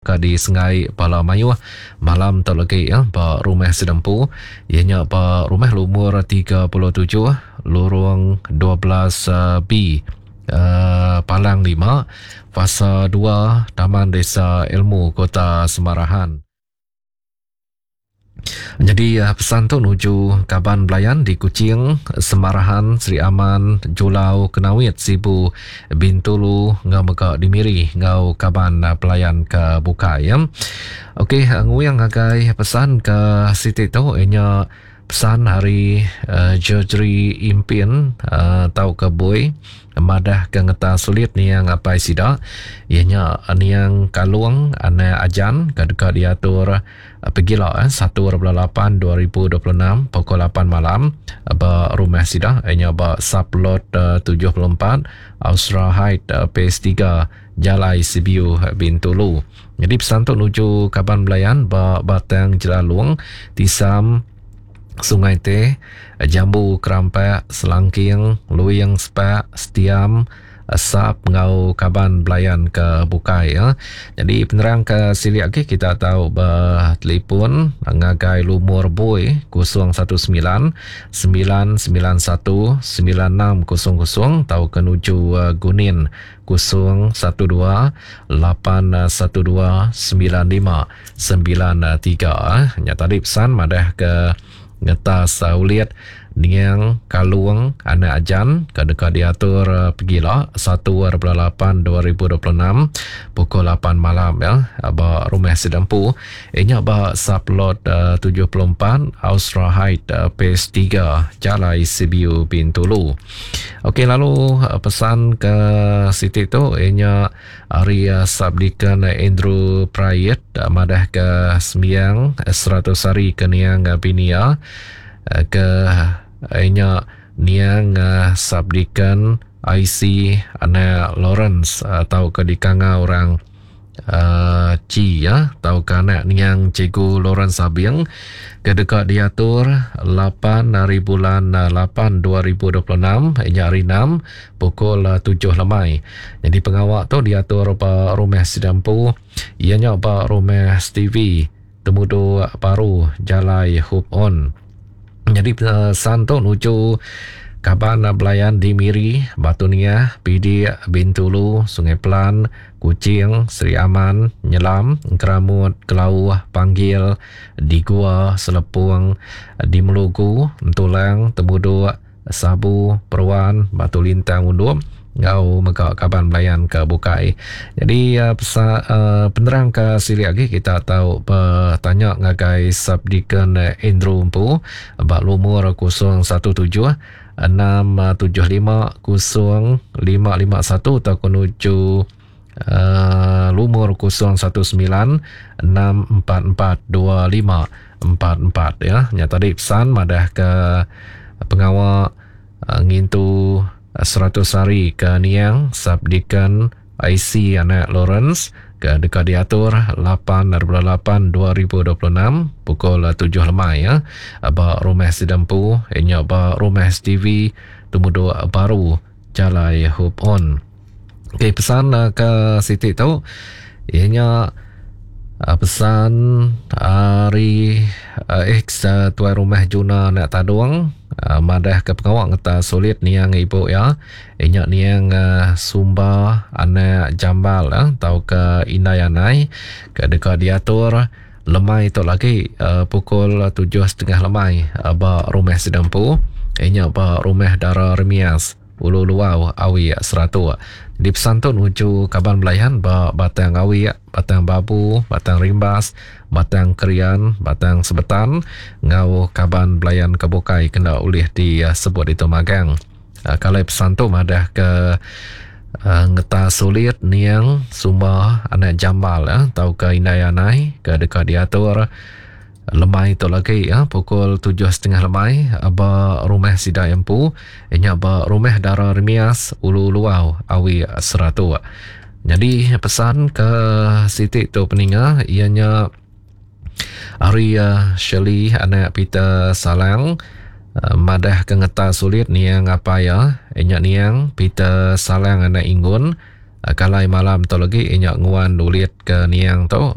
deka disenggai bala mayuh malam tu legi ba rumah sida empu iya nya ba rumah lumur 37 Lorong 12 B Palang 5 Fasa 2 Taman Desa Ilmu Kota Semarahan. Nyadi pesan tu nuju kaban belayan di Kuching, Semarahan, Sri Aman, Julau, Kenawit, Sibu, Bintulu enggau mega di Miri enggau kaban belayan ke bukai. Okey, nguing ngagai pesan ke siti tu inya pesan ari Georgery Impin tauka Bui madah ke ngeta sulit niang apai sida iya nya niang Kalong anak Ajan ke deka diatur Pegila 1.8 2026 pukul 8 malam ba rumah sida inya ba Sublot 74 Austra Height Phase 3 Jalai Sibiu Bintulu. Jadi pesan tu nuju kaban belayan ba Batang Jelalong, Tisam, Sungai Teh, Jambu Kerampak, Selangking, Luing Sepak, Setiam, Sap enggau kaban belayan ke bukai. Jadi penerang ke silik agi kita tau betelefon ngagai lumur bui 019 991 9600 tauka nuju Gunin 012 812 9593. Nya tadi pesan madah ke Ngetas ulit niang Kalung anak Ajan ke deka diatur pegila 1.8 2026 pukul 8 malam ya ba rumah sida empu inya ba sublot 74 Austra Height Phase 3 Jalai Sibiu Bintulu. Okey lalu pesan ke siti tu inya Ari Subdeacon Andrew Prayit madahka sembiang 100 hari ke niang bini iya ke nya niang Subdeacon IC anak Lawrence tauka dikangau orang Chi tauka anak niang Cikgu Lawrence Abing ke deka diatur 8 hari bulan 8 2026 nya hari 6 pukul 7 lemai. Nyadi pengawa tu diatur ba rumah sida empu iya nya ba rumah Stevie Temudu Baru Jalai Hope On. Nyadi pesan tu nuju kaban belayan di Miri, Batu Niah, Pidik, Bintulu, Sungai Pelan, Kuching, Sri Aman, Nyelam, Engkeramut, Kelauh, Panggil, di Gua, Selepong, di Melugu, Entulang, Temuduk, Sabu, Peruan, Batu Lintang Undup enggau mega kaban belayan ke bukai. Jadi pesa, penerang ke silik agi kita tau betanya ngagai Subdeacon Andrew empu ba lumur 017 675 0551 atau nuju lumur 019 644 2544 ya. Nya tadi pesan madah ke pengawa ngintu 100 hari ke niang Subdeacon IC anak Lawrence ke deka diatur 8 8 2026 pukul 7 lemai ya ba rumah sida empu nya ba rumah STV Temuduk Baru Jalai Hope On. Okey pesan eh, ke siti tu iya nya eh, pesan ari eh, ex tuai rumah Juna anak Tadung madah ke pengawa ngeta sulit niang ibu iya iya nya niang Sumba anak Jambal tauka Indai Anai ke deka diatur lemai tu lagi pukul 7.30 lemai ba rumah sida empu iya nya ba rumah Dara Remias. Ulu Luau, Awik, Seratok. Di pesan tu nuju kaban belayan ba Batang Awik, Batang Babu, Batang Rimbas, Batang Krian, Batang Sebetan enggau kaban belayan ke bukai kena ulih disebut ditu magang. Kalai pesan tu madah ke ngeta sulit niang Sumba anak Jambal tauka Indai Anai ke deka diatur Lemai tu lagi ya pukul 7.30 lemai ba rumah sida empu nya ba rumah Dara Remias Ulu Luau Awi Seratuk. Jadi pesan ke siti tu peninga iya nya ari eh, Shirley anak Peter Salang eh, madah ke ngeta sulit niang apai ya nya niang Peter Salang anak Ingun eh, kalai malam tu lagi nya nguan ulit ke niang tu.